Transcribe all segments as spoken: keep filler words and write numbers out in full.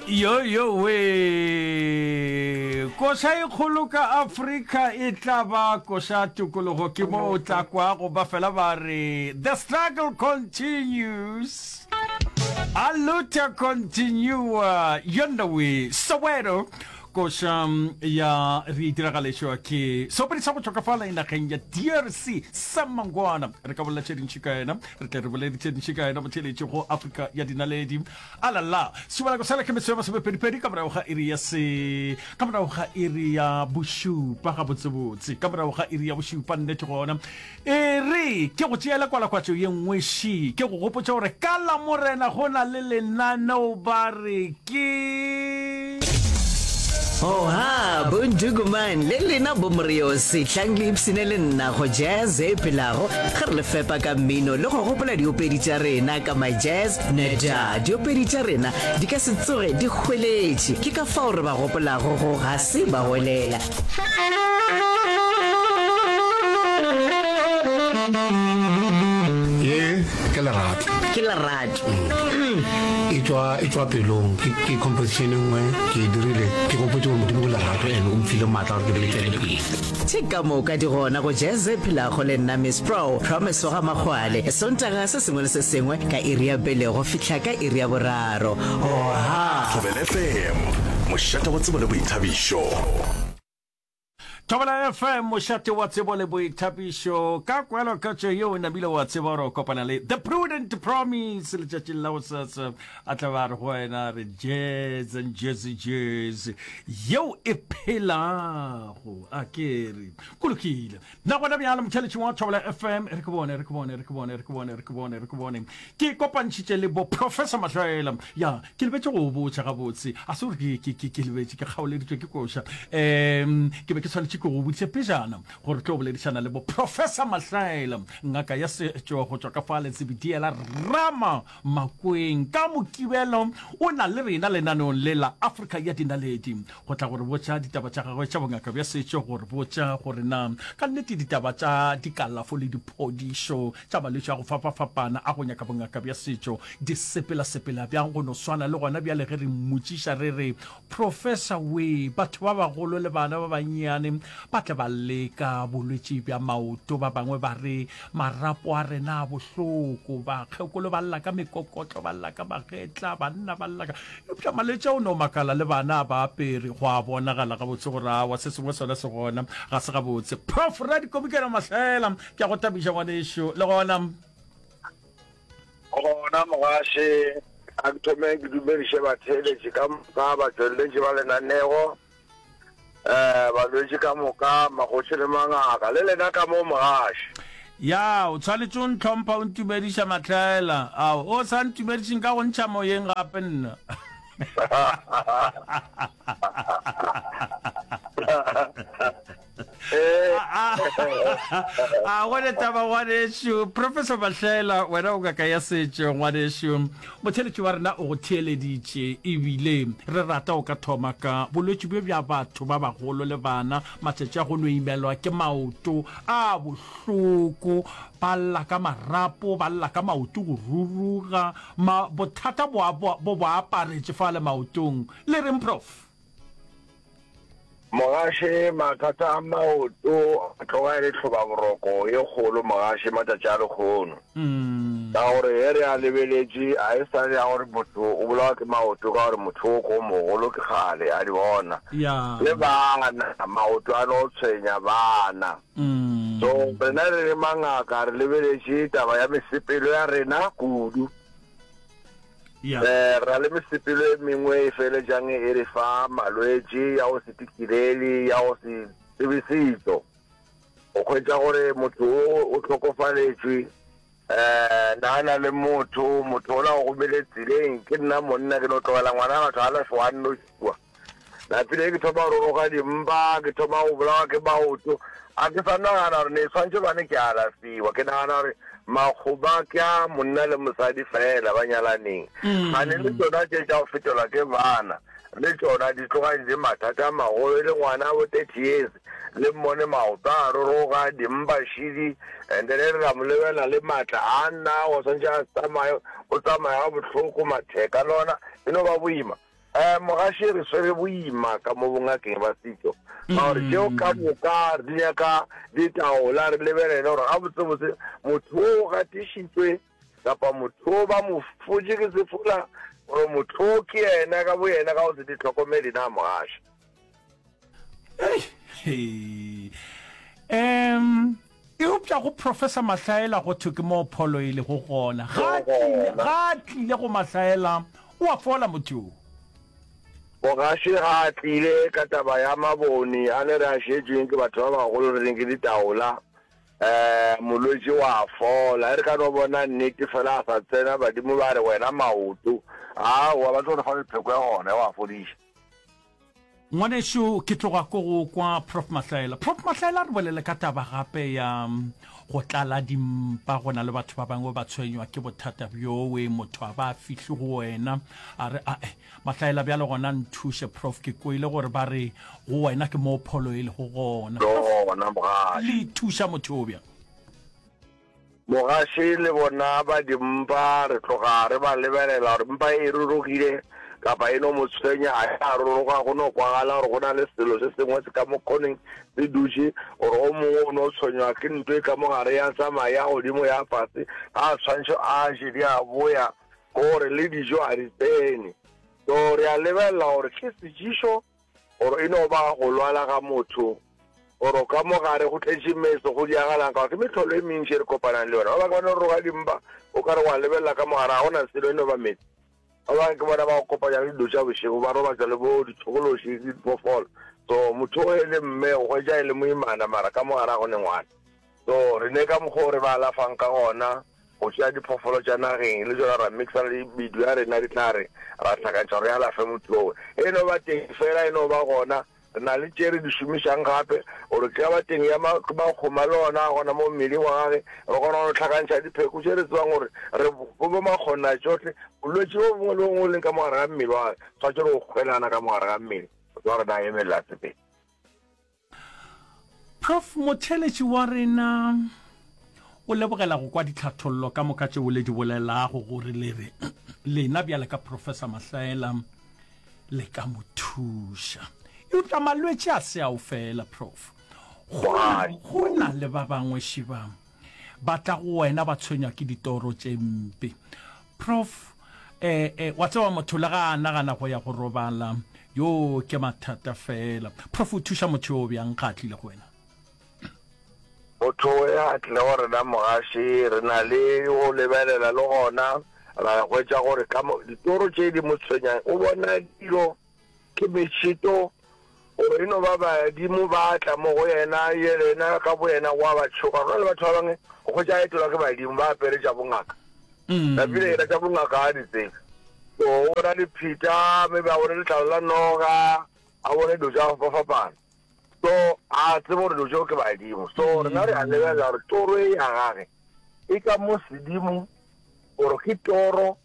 Yo yo we koša e kgolo ka Afrika e tla ba koša tokologo ke mo o tla kwago ba fela ba re the struggle continues a luta continua yona we Soweto koša ya re diragalešwa ke seopedi sa go tšwa ka fala nageng ya D R C Sam Mangwana. Re ka bolela tše dintši ka yena, re tle re bolele tše dintši ka yena botheletše go Afrika ya Dinaledi. Alala sebalako sela ke metswe ya masomepedipedi ka morago ga iri ya se ka morago ga iri ya bošupa, gabotsebotse ka morago ga iri ya bošupa. Nnete gona e re ke go tšeela kwalakwatšo ye nngwe ši ke go gopotša gore ka la Morena go na le lenaneo ba re ke Oha, bonduguman le lena bomoriosi, tlang le ipsene le nna go Jazz e phelago ge re le fepa ka mmino le go gopola diopedi tša rena ka My Jazz Neda. Diopedi tša rena di ka se tsoge di hweletše, ke ka fao re ba gopolago go ga se ba welela. Ye ke lerato. Ke lerato. E tšwa e tšwa pelong. ke ke composition e nngwe ke e dirile ke gopotse gore Modimo ke lerato and o mfile maatla gore ke be le tšwele pele. Tše ka moka di gona go Jazz e phelago le nna Miss Pro Promise wa ga Makgwale, Sontaga se sengwe le se sengwe ka iri ya pele go fihla ka iri ya boraro. Oha! Thobela F M, mošate wa tsebo le boithabišo. Thobela F M, mošate wa tsebo le boithabišo. Ka kweloketšo yeo namile wa tseba gore o kopana le The Prudent Promise letšatšing la gosasa, a tla ba re go wena re jazz and jazzy jazz yeo e phelago. A ke re go lokile nna gona bjalo motheletši wa Thobela F M, re ke bone re ke bone re ke bone re ke bone re ke bone re ke bone ke kopantšhitše le bo Professor Mahlaela. Ya ke lebetše go botša gabotse, a se gore ke ke ke lebetše, ke kgaoleditšwe ke koša. um ke be ke swanetše ke go boditše pejana gore tlo boledišana le bo Professor Mahlaela, ngaka ya setšo go tšwa ka fa Letsebediela Rama Makweng. Ka Mokibelo o na le rena lenaneong le la Afrika ya Dinaledi go tla gore botša ditaba tša gagwe tša bongaka bja setšo, gore botša gore na ka nnete ditaba tša dikalafo le diphodišo tša malwetši a go fapafapana a go nyaka bongaka bja setšo di sepela-sepela bjang. Go no swana le gona bjale ge re mmotšiša re re, Professor we, batho ba bagolo le bana ba bannyane ba tle ba leka bolwetši bja maoto, ba bangwe ba re marapo a rena a bohloko, bakgekolo ba lla ka mekokotlo, ba lla ka magetla, banna ba lla ka, eupša malwetši a o no makala le bana a ba apere. Go a bonagala gabotse gore awa se sengwe sona se gona ga se gabotse. Prof Radikomikela Mahlela, ke a go thabiša ngwanešo le gona. Gona mogaše, a ke thome ke dumediše batheeletši ka moka, batšweletši ba lenanego, um balwetši ka moka, magoši le mangaka, le lena ka mo mogaše. Ya, o tshwanetše o ntlhompha o ntumediša Mahlaela. Ao, o sa ntumediše nka go ntšha moyeng gape nna. A gone taba ngwanešu Professor Mahlela, wena o ngaka ya setšo ngwanešu. Motheeletši wa rena o go theeleditše, ebile re rata o ka thoma ka bolwetši bjo bja batho ba bagolo le bana matšatši a go no imelwa ke maoto a bohloko, ba lla ka marapo, ba lla ka maoto go ruruga, ma bothata bo bo bo aparetše fale maotong. Le reng, Prof? Mogaše, mathata a maoto a tloga e le tlhobaboroko ye kgolo mogaše matšatši a lekgono. Ka gore ge re a lebeletše a e sa le ya gore motho o bolawa ke maoto ka gore motho o ko mogolo ke kgale a di bona. Le bana maoto a no tshwenya bana. So rena re le mangaka re lebeletše taba ya mesepelo ya rena kudu. Yeah. Eh, re na le mesepelo e mengwe e feletšang e re fa malwetši ya go se tikilele, ya go se tsebe setšo. O hwetša gore motho o o hlokofaletšwe, eh, na na le motho, motho ola o gomele tseleng, ke nna monna ke no tlogela ngwana batho a lafiwa a nnoši kua. Napile ke thoma go roroga dimpa, ke thoma go bolawa ke maoto. A ke sa nagana gore ne swantšhe bane ke alafiwa. Ke nagana gore makgoba ke a monna le mosadi fela ba nyalaneng. Gane le tšona tše tša go fetelwa ke bana, le tšona di tloga di le mathata a magolo. E le ngwana bo thirty years, le mmone maoto a roroga, dimpa šidi, and then re ra mo lebelela le maatla a nna go swantšhe a tsamaye, o tsamaya ga bohloko, matheka le ona e no ba boima. Um Mogaši re swere boima ka mo bongakeng ba setšo ka gore tšeo ka moka di nyaka ditaola, re lebelele gore gabotsebotse motho o o gatišitšwe kapa motho o ba mo fotše ke sefola gore motho o ke yena ka boyena ka go se di hlokomele na Mogaši. Hei. Um eupša go Professor Mahlaela go thwe ke moo pholo e lego gona. Ga a tlile, ga a tlile go Mahlaela, o a fola motho yo. Mogaši ga a tlile ka taba ya mabone a le re a šetšweng ke batho ba bagolo re reng ke ditaola, um molwetši wa fola. E re ka no bona nnete fela a sa tsena, badimo ba re wena maoto, aowa ba tlo re fa le pheko ya gona wa fodiša. Ngwanešu, ke tloga ko go kwa Prof Mahlaela. Prof Mahlaela, re bolele ka taba gape ya go tlala dimpa. Go na le batho ba bangwe ba tshwenywa ke bothata bjowe, motho a ba a fihli go wena a re, ae Mahlaela bjale gona nthuše Prof, ke kwele gore ba re go wena ke moo pholo e lego gona. Prof, Gona mogaši. le thuša motho yo bjang? Mogaši le bona ba dimpa, re tloga re ba lebelela gore mpa e rurugile kapa e no mo tshwenya, ga ya ruruga, go no kwagala gore go na le selo se sengwe se ka mo khoneng se dutše, gore o mongwe o no tshwenywa ke nto e ka mo gare ya tsamaya ya godimo ya fase, ga a tshwantšho a je di a boya, ke gore le dijo ga di tsene. So re a lebelela gore ke sejišo Gore e no ba go lwala ga motho, gore ka mo gare go tletše meso, go diagalang, ka gore ke mehlolo e mentši e re kopanang le yona. Ba bangwe ba no roga dimpa, o ka re wa lebelela ka mo gare, ga go na selo, e no ba meetse. Ba bangwe ke bona ba go kopanya le dilo tša bošego, ba robatšwa le bo ditšhokološi le diphoofolo. So motho o e le mme, o hwetša e le moimana, mara ka mo gare ga go ne ngwana. So re ne ka mokgwa o re ba alafang ka gona, go tšea diphoofolo tša nageng le tšona ra mixa le medu ya rena, dihlare, ra hlakantšha gore re alafe motho owe. E no ba teng fela, e no ba gona. Re na le tše re di šomišang gape, gore ke ka ba teng ya makgoma le ona a gona mo mmeleng wa gage, re kgona go no hlakantšha dipheko tše re tsebang gore re bo makgonatšohle. Bolwetši bo bongwe le bongwe bo leng ka mo gare ga mmele wa gage, tshwanetše re go kgwelana ka mo gare ga mmele, motho wa rena a emelela a sepele. Prof. Motheeletši wa rena o lebogela go kwa ditlhathollo ka moka tšeo le di bolelago gore le re lena bjale ka Professor Mahlaela le ka mo thuša. Eupša malwetši a se ao fela, Prof. Go na, go na le ba bangwe šiba ba tla go wena ba tshwenywa ke ditoro tše mpe. Prof. Eh, eh, wa tseba motho le ga a nagana go ya go robala, yo ke mathata fela. Prof, o thuša motho yo bjang ga a tlile go wena? Motho e a tlile go rena mogaši, re na le go lebelela le gona ra hwetša gore ka mo ditoro tše di mo tshwenyang, o bona dilo ke mešito, gore e no ba badimo ba tla mo go yena, yena ka boyena wa ba tšhoga. Go na le batho ba bangwe o hwetša a etelwa ke badimo ba apere tša bongaka, napile yena tša bongaka ga a di tsebe. So o bona dipheta, maybe a bone letlalo la noga, a bone dilo tša go fapafapana. So a tsebe gore dilo tšeo ke badimo. So rena re a lebelela gore toro e ya gage e ka mo sedimo, gore ke toro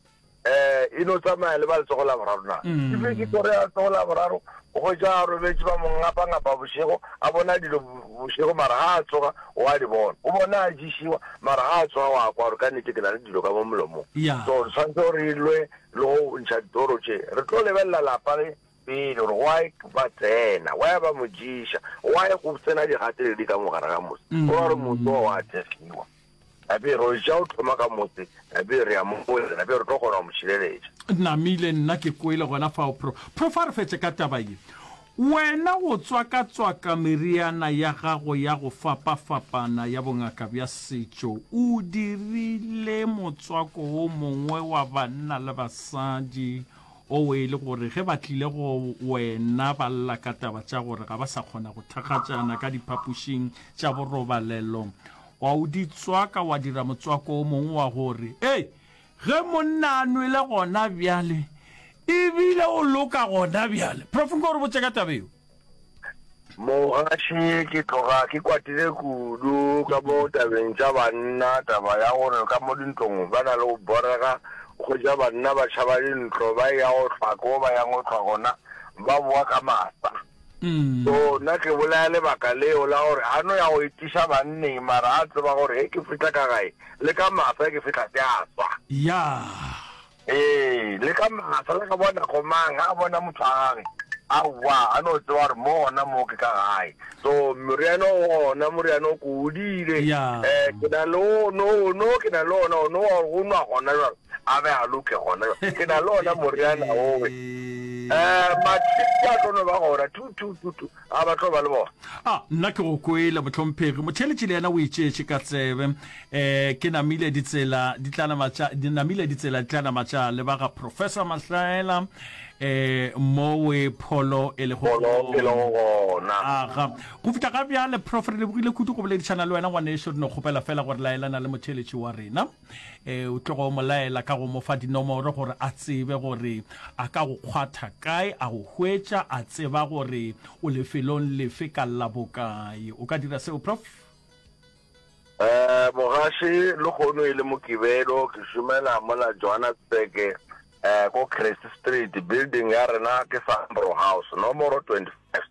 um e no tsamaya le ba letsogo la boraro na? Mm. Ebile ke toro ya letsogo la boraro, o hwetša a robetše ba mo ngapa-ngapa bošego, a bona dilo bošego, mara ga a tsoga o a di bona. O bona a ješiwa, mara ga a tsoga wa kwa gore ka nnete ke na le dilo ka mo molomong. Yeah. So re tshwanetse gore re lwe le go ntšha ditoro tše. Re tlo lebelela lapa le pele gore why ba tsena, why ba mo ješa, why go tsena digateledi ka mo gare ga motse. Go ra gore motse wa wa thekgiwa. Gape re ja o thoma ka motse, gape re ya mo go yena, gape re tlo kgona go mo šireletša. Namile, nna ke kwele gona fao Pro. Prof a re fetše ka taba ye. Wena go tswakatswaka meriana ya gago ya go fapafapana ya bongaka bja setšo, o dirile motswako wo mongwe wa banna le basadi o e le gore ge ba tlile go wena ba lla ka taba tša gore ga ba sa kgona go thakgatšana ka diphapošing tša borobalelo, Wa o di tswaka wa dira motswako o mongwe wa gore, Ei, ge monna a nwele gona bjale, e bile o loka gona bjale. Prof, nko re botše ka taba yeo. Mogaši, ke tloga ke kwatile kudu ka mo tabeng tša banna, taba ya gore ka mo dintlong ba na le go borega, o hwetša banna ba tšhaba dintlo ba eya go hlwa ko ba yang go hlwa gona, ba boa ka masa. So nna ke bolaya lebaka leo la gore a no ya go etiša banneng mara a tseba gore ge ke fihla ka gae le ka masa ge ke fihla se a swa. Yaa. Ee, le ka masa, le ka bona komang, ga a bona motho a gage, aowa, a no tseba gore mo gona mo ke ka gae. So, moriana o gona, moriana o ke o dire. Ya. Eh, ke na le o, no, no, ke na le ona, o no wa go nwa gona jwale, a be a loke gona jwale. Ke na le ona moriana owe. Eh, matšhitši a tlo no ba gona, two, two, two, two, a ba tlo ba le bona. A, nna ke go kwele, mohlomphegi. Motheeletši le yena o itšeetše ka tsebe. E, ke namile ditsela di tla nama tša, di namile ditsela di tla nama tša leba ga Professor Mahlaela, e, mowe pholo e lego Pholo e lego gona. Aga. Go fihla ga bjale, Prof, re lebogile kudu go boledišana le wena, ngwanešu. Re no kgopela fela gore laelana le motheeletši wa rena. E, o tlogo mo laela ka go mo fa dinomoro gore a tsebe gore a ka go kgwatha kae, a go hwetša, a tseba gore o lefelong lefe ka la bokae. O ka dira seo, Prof? Eh, mogaši, lehono e le Mokibelo, ke šomela mola Johannesburg, eh, ko Crest Street, building ya rena ke Sambro House, nomoro twenty-five.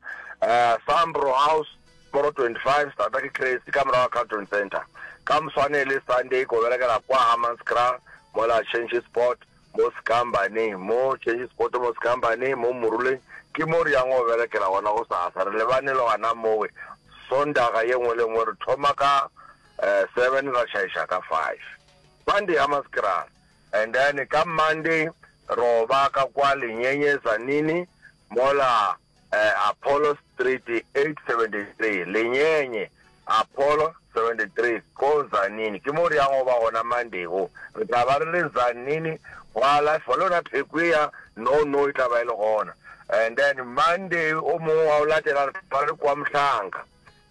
Eh, Sambro House, nomoro twenty-five, starta ke Crest, ka morago ga Carlton Centre. Ka moswane e le Sunday, ko berekela kwa Hammanskraal, mola Change Sport, mo Sekambaneng, mo Change Sport, mo Sekambaneng, mo Moruleng, ke mo re yang go berekela gona gosasa. Re lebane le gona mowe, Sondaga ye nngwe le nngwe re thoma ka eh, seven ra tšhaiša ka five. Sunday Hammanskraal. And then ka Monday ro ba ka kwa Lenyenye Zanini mola eh, Apollo Street eight seventy-three. Lenyenye Apollo seventy-three ko Zanini. Ke mo re yang go ba gona Monday go. Re tla ba re le Zanini go alafiwa le yona pheko ya no no e tla ba e le gona. And then Monday o mongwe wa o latela re tla ba re kwa Mhlanga.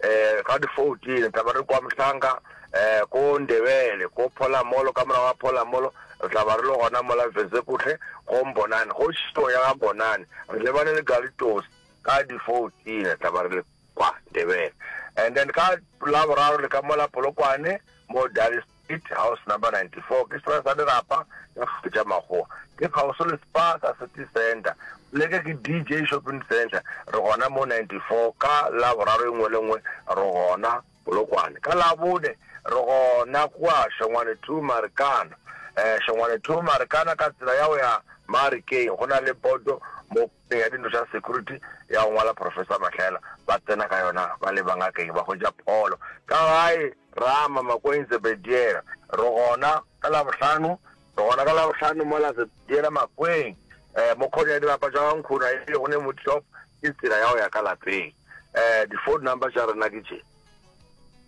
Eh, ka di fourteen re tla ba re kwa Mhlanga, eh, ko Ndebele, ko Pholamolo, ka morago ga Pholamolo re tla ba re le gona mola Vezekuhle go Mbonane, go Šito ya ga Mbonane. Re lebane le Galitos ka di fourteen re tla ba re le kwa Ndebele. And then ka Laboraro le ka mola Polokwane mo Dali Street, house number ninety-four, ke sera sa dirapa ka tša makgowa, ke kgauswi le Spa sa City Center, leke ke D J Shopping Center. Re gona mo ninety-four ka Laboraro e nngwe le nngwe re gona Polokwane. Ka Labone re gona kwa Shongwane two Marikana, eh, Shongwane two Marikana ka tsela ya go ya Marikeng, go na le boto mo ya dintlo tša security ya go ngwala Professor Mahlaela, ba tsena ka yona ba leba ngakeng ba hwetša pholo. Ka gae Rama Makweng Zebediela, re gona ka Labohlano, re gona ka Labohlano mola Zebediela Makweng, eh, mo khone ya dirapa tša ga Nkhuna e le go ne mo shop, ke tsela ya go ya ka lapeng. Eh, di phone number tša rena ke tše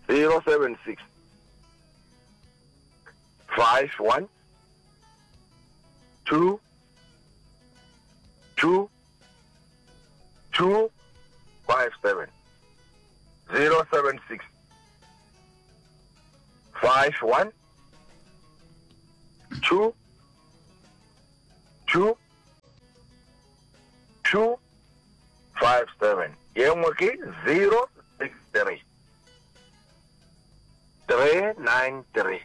zero seven six five one two two two five seven, zero seven six five one two two two five seven. Ye nngwe ke zero six three three nine three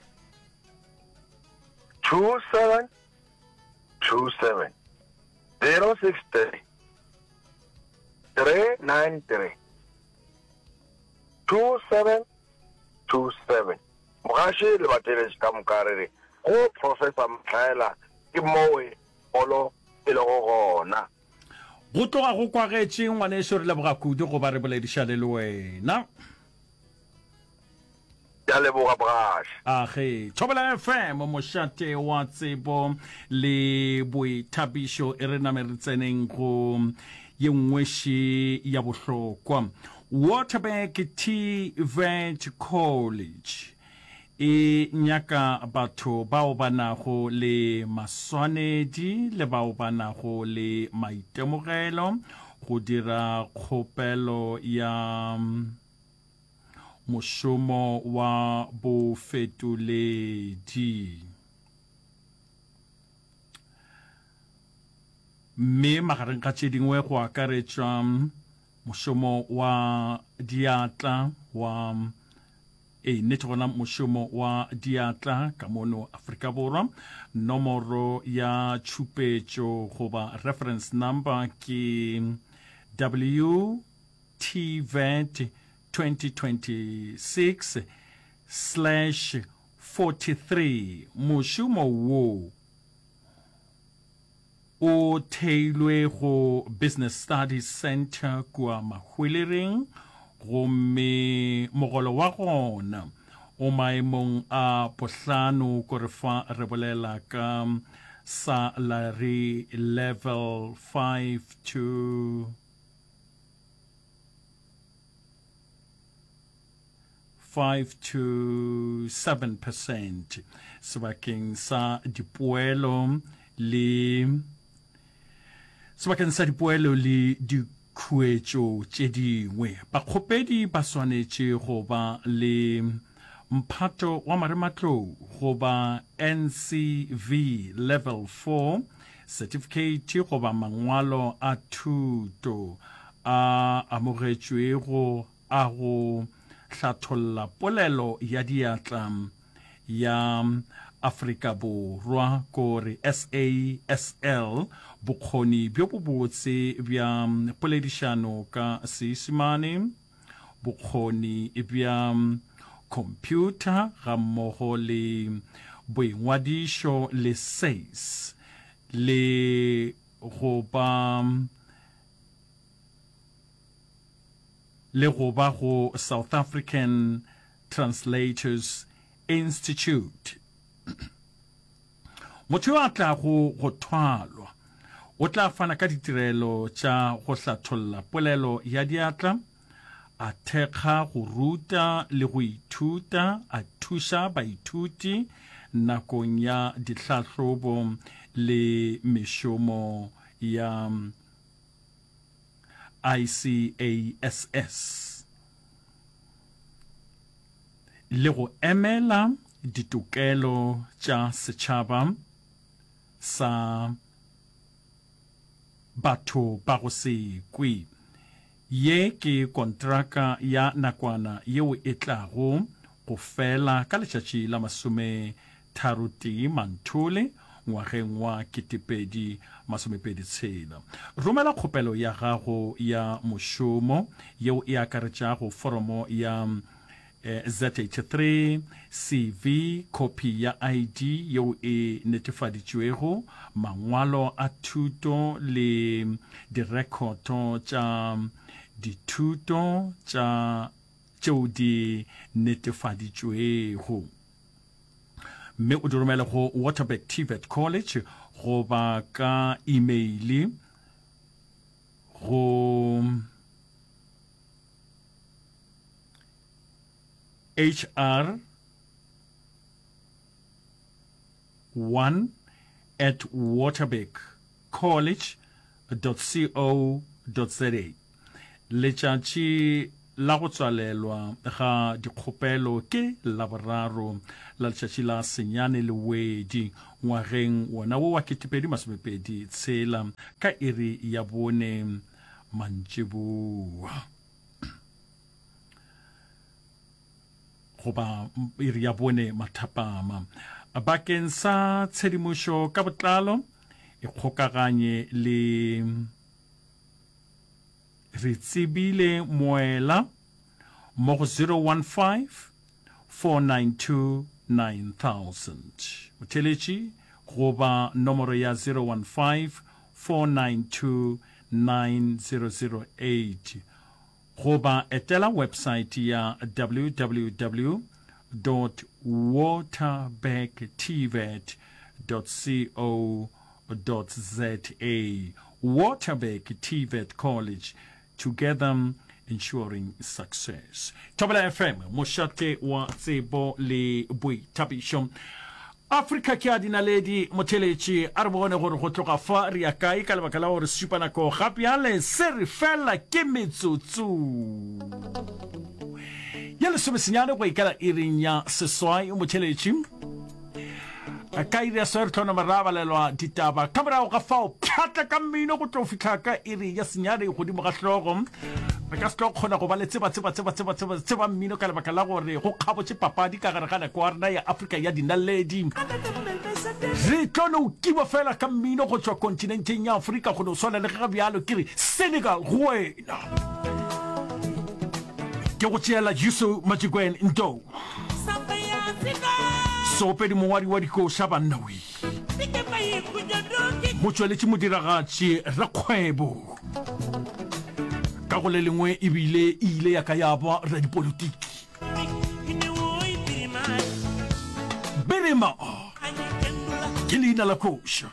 two seven two seven, zero six three three nine three two seven two seven. Mogaši le bateletši ka moka re re go Professor Mahlaela ke mowe polo e lego gona. Go tloga go kwagetše ngwaneso, re leboga kudu go ba re boledišane le wena. Ke a leboga mogaši. Age, Thobela F M, mošate wa tsebo le boithabišo, e re name re tseneng go ye nngwe še ya bohlokwa. Waterberg T V E T College e nyaka batho bao ba nago le maswanedi le bao ba nago le maitemogelo go dira kgopelo ya mošomo wa bofetoledi. Mme magareng ga tše dingwe go akaretšwa mošomo wa diatla wa e nnete gona mošomo wa diatla ka mono Afrika Borwa. Nomoro ya tšhupetšo goba reference number ke W T V E T twenty twenty-six slash forty-three. Mošomo wo o theilwe go Business Studies Centre kua Mahwelereng gomme mogolo wa gona o maemong a bohlano kore fa re bolela ka salary level five to five to seven percent sebakeng sa dipoelo le sebakeng sa dipoelo le dikhuetšo tše dingwe. Bakgopedi ba swanetše go ba le mphato wa marematlou goba N C V level four certificate goba mangwalo a thuto a amogetšwego a go hlatholla polelo ya diatla ya Afrika Borwa kore S A S L, bokgoni bjo bobotse bja poledišano ka Seisemane, bokgoni bja computer gammogo le boingwadišo le S A S le go ba le go ba go South African Translators Institute. Motho yo a tlago go thwalwa o tla fana ka ditirelo tša go hlatholla polelo ya diatla, a thekga go ruta le go ithuta, a thuša baithuti nakong ya dihlahlobo le mešomo ya I C A S S le go emela ditokelo tša setšhaba sa batho ba go se kwe. Ye ke kontraka ya nakwana yeo e tlago go fela ka letšatši la masome tharo tee Manthole ngwageng wa ketepedi masomepedi tshela. Romela kgopelo ya gago ya mošomo yeo e akaretšago foromo ya Z eighty-three, C V, khopi ya I D yeo e netefaditšwego, mangwalo a thuto le direkhoto tša dithuto tša tšeo di netefaditšwego, mme o di romele go Waterberg T V E T College goba ka email go H R one at waterberg college dot co dot za. Letšatši la go tswalelwa ga dikgopelo ke Laboraro la letšatši la senyane Lewedi ngwageng wona wo wa ketepedi masomepedi tshela ka iri ya bone mantšiboa goba iri ya bone mathapama. Bakeng sa tshedimošo ka botlalo e kgokaganye le Re Tsebile Moela mo go zero one five, four nine two, nine thousand. Motheeletši goba nomoro ya zero one five, four nine two, nine zero zero eight goba etela website ya w w w dot waterberg t v e t dot co dot z a. Waterberg T V E T College, together ensuring success. Thobela F M, mošate wa tsebo le boithabišo. Afrika ke a dinaledi, motheeletši, a re bone gore go tloga fa re ya kae ka lebaka la gore sešupanako ga bjale se re fela ke metsotso ya lesomesenyane go ikela iring ya seswai. Motheeletši, ka iri ya seswai re tlo nama ra balelwa ditaba, ka morago ga fao pšhatla ka mmino go tlo fihla ka iri ya senyane godimo ga hlogo. Re ka se tlo kgona go ba le tseba tseba tseba tseba tseba tseba mmino ka lebaka la gore go kgabotše papadi ka gare ga nako ya rena ya Afrika ya dinaledi. Re tlo no kiba fela ka mmino go tšwa kontinenteng ya Afrika go no swana le ge ga bjalo ke re Senegal go wena. Ke go tšeela Youssou Madjiguène Ndour, seopedi mongwadi wa dikoša banna we. Motšweletši modiragatši rakgwebo ka go le lengwe ebile e ile ya ka ya ba radipolitiki. Birima ke leina la koša.